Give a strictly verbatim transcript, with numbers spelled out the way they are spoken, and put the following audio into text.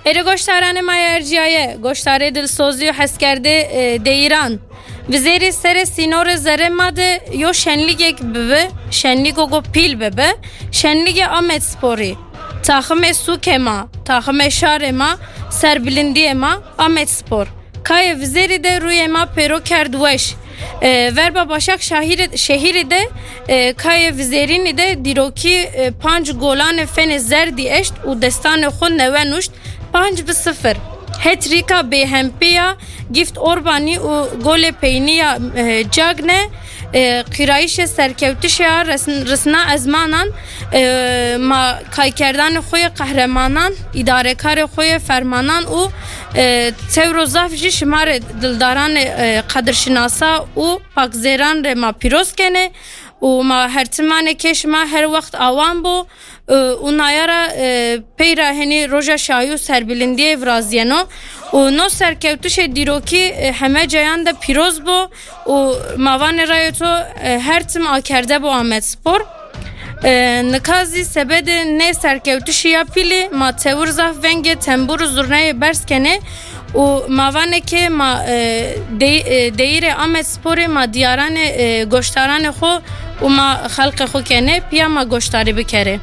Êrê goştaranê ma yê erciyaye, goştarê dilsozî û heskerdê, e, deyîran. Vizêrî serê sînorê zerê ma de yo şenlîgek bibi, şenlîgo go pîl bibi, şenlîgê Amedsporî. Taximê sûkê ma, taximê şarê ma, serbilindiyê ma, Amedspor. Kayê Vizêrî de rûyê ma pêro kerd weş. E, verba Başak şahîrê-, şehîrê de, e, kayê Vizêrînî de dîrokî, e, panc golanê fenê zerdî eşt û destanê xwe newe nuşt, panc bi sifir. Hetrîka bêhempê ya Gift Orbanî û golê peynî ya, e, Cagne, e, qîrayîşê serkewtişê ya resn-, risna ezmanan, e, ma kaykerdanê xwe yê qehremanan, îdarekarê xwe yê fermanan û, e, tewro zaf jî şima rê dildaranê, e, qedirşinasa û pakzêran rê ma pîroz kenê û ma her timanê kê şima her wext awan bo, e, û nayara, e, peyra henî roja şahî û serbilindiyê viraziyeno û no serkewtişê dîrokî, e, heme cayan de pîroz bo û ma vanê rayê to, e, her tim akerde bo Amedspor. E, nika zî sebedê nê serkewtişî ya pîlî ma tewir zaf vengê tembûr û zurneyê berz kenê û ma vanê ke ma, e, dey-, e, deyîrê Amedsporê ma diyaranê, e, goştaranê xwe û ma xelqê xwe kenê, piya ma goştarî bikerê.